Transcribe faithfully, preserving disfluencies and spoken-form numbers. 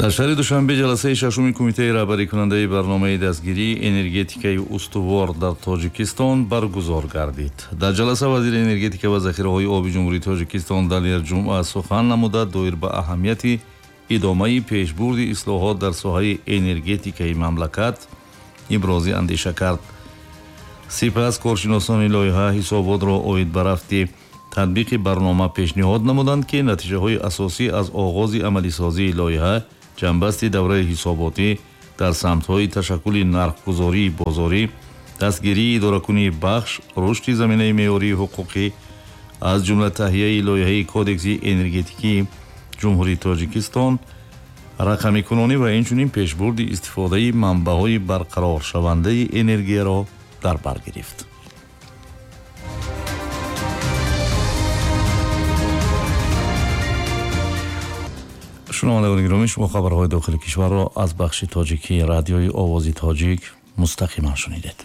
Дар шаҳри Душанбе ҷаласаи шашуми кумитаи раҳбарикунандаи барномаи дастгирии энергетикаи устувор дар Тоҷикистон баргузор гардид. Дар ҷаласа вазири энергетика ва захираҳои оби Ҷумҳурии Тоҷикистон Далер Ҷумъа сухан намуда, доир ба аҳамияти идомаи пешбурди ислоҳот дар соҳаи энергетикаи мамлакат ибрози андеша кард. Сипас коршиносони лоиҳа ҳисоботро оид ба рафти татбиқи барнома пешниҳод намуданд, ки натиҷаҳои асосӣ аз оғози амалисозии лоиҳа, ҷанбасти давраи ҳисоботӣ дар самтҳои ташаккули нархгузории бозорӣ, дастгирии идоракунии бахш, рушди заминаи меъёрии ҳуқуқӣ, аз ҷумла таҳияи лоиҳаи Кодекси энергетикии Ҷумҳурии Тоҷикистон, рақамикунонӣ ва инчунин пешбурди истифодаи манбаъҳои барқароршавандаи энергияро дар бар гирифт. Шунавандагони гиромӣ, шумо хабарҳои дохили кишварро аз бахши тоҷикии радиои Овози Тоҷик мустақиман шунидед.